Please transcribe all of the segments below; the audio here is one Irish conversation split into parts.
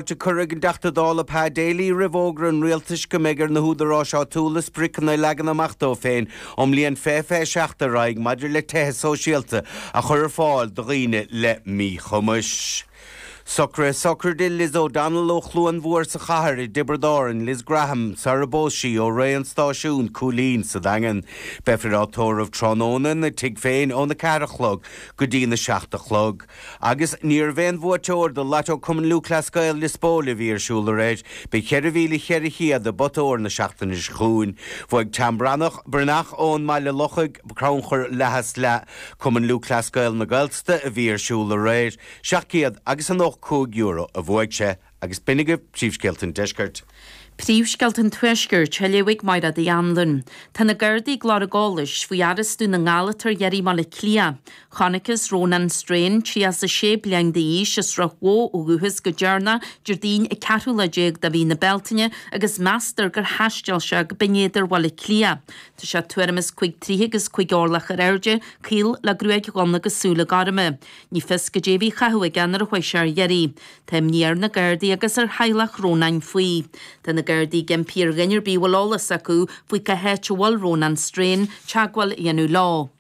Fáilte curtha ag an dTeachta Dála Pa Daly roimh fhógra an Rialtais go mbeidh ar na húdaráis áitiúla spriocanna a leagan amach dóibh féin ón mbliain 2027 ar aghaidh maidir le tithe sóisialta a chur ar fáil do dhaoine le míchumais. Socruithe sochraide Liz O'Donnell ó Chluain Mhór sa Chathair i dTiobraid Árann, Liz Graham sar a bpós sí ó Rae an Stáisiún, Cúilín sa Daingean. Beifear á tórramh tráthnóna ina tigh féin óna 4 a chlog go dtína 7 a chlog. Agus ní raibh aon bhuaiteoir do Lotto Cumann Lúthchleas Gael Lios Póil a bhí ar siúl aréir. Beidh 4,400 i bpota óir na seachtaine seo chugainn. Bhuaigh Tom Breathnach, Breathnach ón mBaile Lochaigh, crannchur leath as leath Cumann Lúthchleas Gael na Gaeltachta a bhí ar siúl aréir. €700 agus €95 a bhuaigh sé. Agus b'in agaibh príomhscéalta an deiscirt. Príomhscéalta an Tuaiscirt, á léamh ag Máire Uí Anluain. Tá na Gardaí ag lorg eolais faoi fhear as Dún na nGall atá ar iarraidh i mBaile Átha Cliath. Chonacthas Rónán Strain, 36 bliain d'aois, as Srath Bhó ó dhúchas go deireanach Déardaoin an ceathrú lá déag de mhí na Bealtaine agus meastar gur thaisteal sé go Binn Éadair Bhaile Átha Cliath. Tá sé tuairim is cúig troigh agus cúig orlach ar airde, caol le gruaig dhonn agus súile gorma. Ní fios goidé a bhí á chaitheamh aige nuair a chuaigh sé ar iarraidh. Tá imní ar na Gardaí agus ar theaghlach Rónáin faoi. Tá na Gardaí ag impí ar dhuine ar bith a bhfuil eolas acu faoi cá háit a bhfuil Rónán Strain teagmháil a dhéanamh leo.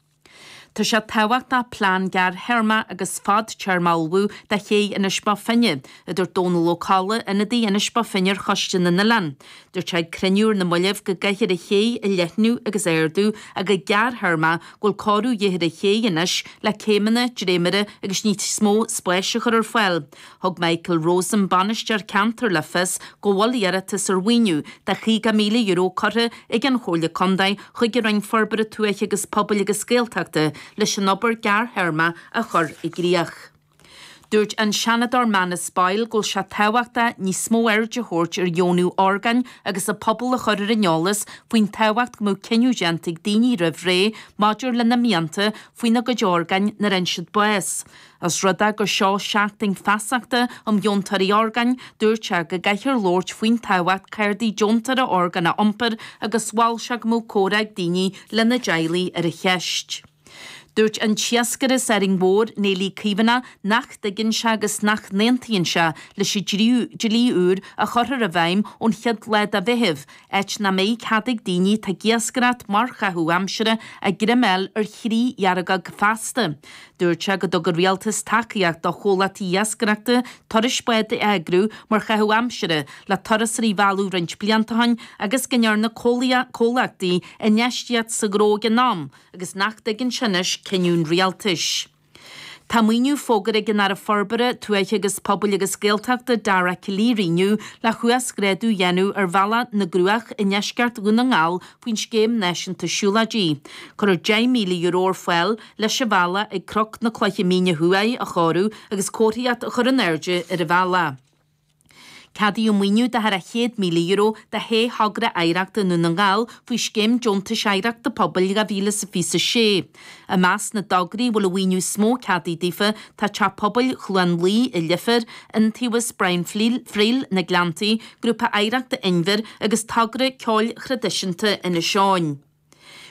Tá sé tábhachtach plean gearrthéarma agus fadtéarma a ullmhú do ché Inis Bó Finne, a dúirt Dónal Ó Colla, ionadaí Inis Bó Finne ar Choiste na nOileán. Dúirt sé ag cruinniú ar na mallaibh go gcaithfear an ché a leathnú agus a ardú ach go gearrthéarma go bhfuil cóiriú de dhíth ar an ché anois le céimeanna, dréimire agus níos mó spáis a chur ar fáil. Thug Michael Rosen, bainisteoir ceantair le fios go bhfuil iarratas ar mhaoiniú de €50,000 curtha ag an Chomhairle Contae chuig an Roinn Forbartha Tuaithe agus Pobail agus Gaeltachta leis an obair gearrthéarma a chur i gcrích. Dúirt an Seanadóir Manus Boyle go bhfuil sé tábhachtach níos mó aird a thabhairt ar dheonú orgáin agus an pobal a chur ar an eolas faoin tábhacht go mbeadh cinneadh déanta ag daoine roimh ré maidir lena mianta faoina gcuid orgáin nuair a fhaigheann siad bás. Os rud é gur seo seachtain feasachta um dheontóirí orgáin, dúirt sé go gcaithfear labhairt faoin tábhacht cártaí deontóra orgán a iompar agus mhol sé go mbeadh comhrá ag daoine lena dteaghlaigh ar an cheist. Dúirt an t-iascaire as Árainn Mhór, Néillí Caomhánach, nach dtuigeann sé agus nach n-aontaíonn sé leis an dlí úr a chuirfear i bhfeidhm ón chéad lá de Mheitheamh, áit nach mbeidh cead ag daoine atá ag iascaireacht mar chaitheamh aimsire a greim a fháil ar chriadheargóg feasta. Dúirt sé go dtug an rialtas tacaíocht do chomhlachtaí iascaireachta turais bád a eagrú mar chaitheamh aimsire le turasóirí a mhealladh roinnt blianta ó shin agus go ndearna comhlachtaí infheistíocht sa ghnó ag an am agus nach dtuigeann sé anois cinneadh an rialtais. Tá maoiniú fógartha ag an Aire Forbartha Tuaithe agus Pobail agus Gaeltachta Dara Calleary inniu le huasghrádú a dhéanamh ar Bhealach na gCruach i ndeisceart Dhún na nGall faoin Scéim Náisiúnta Siúlóidí. Cuirfear €10,000 ar fáil leis an bhealach ag Cnoc na Cloiche Míne Thuaidh a chóiriú agus comharthaíocht a chur in airde ar an bhealach. Ceadaíodh maoiniú de thar €100,000 do shé thogra oidhreachta i nDún na nGall faoi Scéim Deontais Oidhreachta Pobail 2026. I measc na dtograí a bhfuil an mhaoiniú is mó ceadaithe daofa tá Teach Pobail Chluain Laoi i Leifear, Iontaobhas Brian Friel, na Gleanntaí, Grúpa Oidhreachta Inbhir agus Togra Ceoil Thraidisiúnta Inis Eoghain.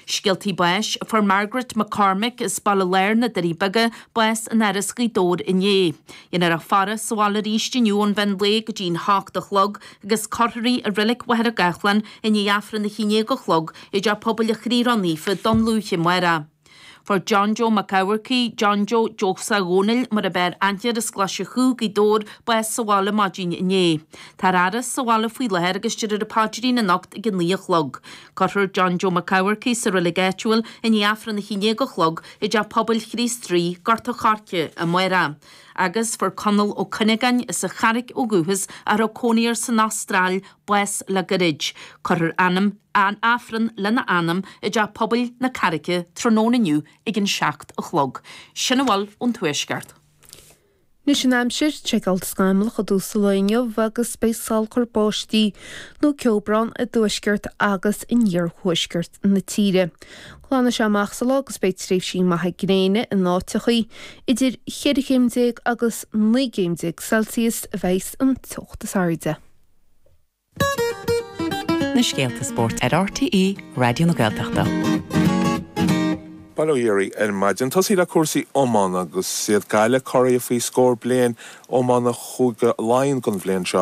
Scéaltaí báis, Fuair Margaret McCormick as Baile Láir na Doirí Beaga bás in Áras Ghaoth Dobhair inné. Déanfar a faire sa bhaile arís inniu ón mheán lae go dtí'n hocht a chlog agus cuirfear í i Reilig Mhachaire Gathlán i ndiaidh Aifreann a haon déag a chlog i dTeach Pobail an Chroí Ró-Naofa Dún Lúiche amárach. Fuair John Joe Mac Eamharcaigh, John Joe Jose Dhónaill mar ab fhearr aithne air as Glaise Chú, Gaoth Dobhair, bás sa bhaile maidin inné. Tá a fhaire sa bhaile faoi láthair agus déarfar an paidrín anocht ag a 9 a chlog. Cuirfear John Joe Mac Eamharcaigh sa reilig áitiúil i ndiaidh Aifreann 11 a chlog i dTeach Pobail Chríost Rí, Gort a' Choirce, amárach. Agus fuair Conall Ó Cuinneagáin as an Charraic ó dhúchas a raibh cónaí air san Astráil bás le goirid. Cuirfear ainm an Aifreann lena anam i dTeach Pobail na Carraice tráthnóna inniu ag an 7 a chlog. Sin a bhfuil ón Tuaisceart. Anois an aimsir, seiceáilte scamallach i dtús an lae inniu agus beidh salachar báistí nó ceobhrán i dtuaisceart agus in iarthuaisceart na tíre. Glanfaidh sé amach sa lá agus beidh tréimhsí maithe gréine in áiteachaí. Idir cheithre chéim déag agus 19 gcéim Celsius a bheidhs an teocht is airde. Na scéalta spóirt ar RTÉ Raidió na Gaeltachta. Bail ó Dhia oraibh ar maidin. Tosaí le cúrsaí iomána agus is iad Gaillimh curaidh faoi scór bliain iomána Chúige Laighean don bhliain seo.